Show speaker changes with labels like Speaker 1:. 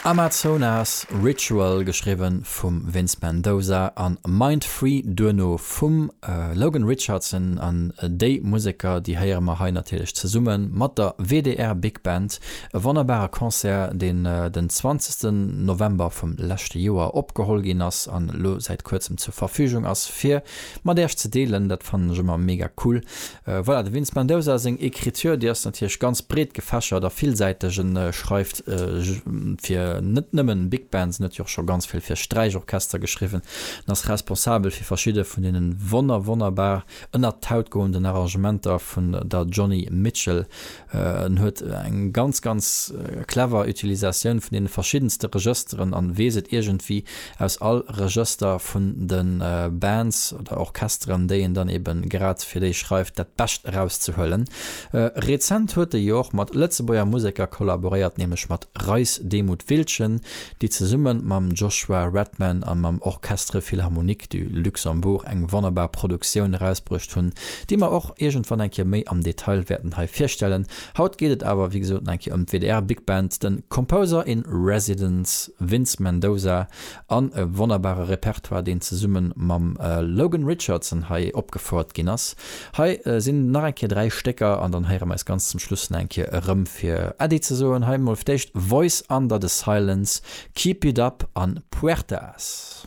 Speaker 1: Amazonas Ritual, geschriwwen vum Vince Mendoza an Mind Free duerno vum Logan Richardson. An déi Museker, déi héiere mer hei natierlech zesumme mat der WDR Big Band. E wonnerbare Concert, deen den 20 November vum leschte Joer opgeholl ginn ass an elo säit kuerzem zur Verfügung ass fir mat Äech ze deelen. Dat fannen ech ëmmer mega cool. Voilà, de Vince Mendoza seng Ecriture, déi ass natierlech ganz breet gefächert a villsäiteg. En schreift fir net nëmmen Big Bands, en huet jo och scho ganz vill fir Sträichorchester geschriwwen. En ass responsabel fir verschidde vun deenen wonner wonnerbar ënnert d'Haut goenden Arrangementer vun der Joni Mitchell. En huet eng ganz, ganz clever Utilisatioun vun deene verschiddenste Regësteren an weess et iergendwéi aus all Regëster vun de Bands oder Orchesteren, déi en dann eben grad fir déi schreift, dat Bescht erauszehuelen. Rezent huet e jo och mat Lëtzebuerger Museker kollaboréiert, nämlech mat Reis Demuth Wiltgen, déi zesumme mam Joshua Redman a mam Orchestre Philharmonique du Luxembourg eng wonnerbar Produktioun erausbruecht hunn, déi mer och iergendwann eng Kéier méi am Detail wäerten hei virstellen. Haut geet et awer wéi gesot nach eng Kéier ëm d'WDR Big Band, de Composer in Residence Vince Mendoza an e wonnerbare Repertoire, deen zesumme mam Logan Richardson hei opgefouert ginn ass. Hei sinn nach eng Kéier 3 Stécker an dann héiere mer eis ganz zum Schluss nach eng Kéier erëm fir Äddi ze soen. Hei mol fir d'éischt Voice Under the Silence, Keep It Up an Puertas.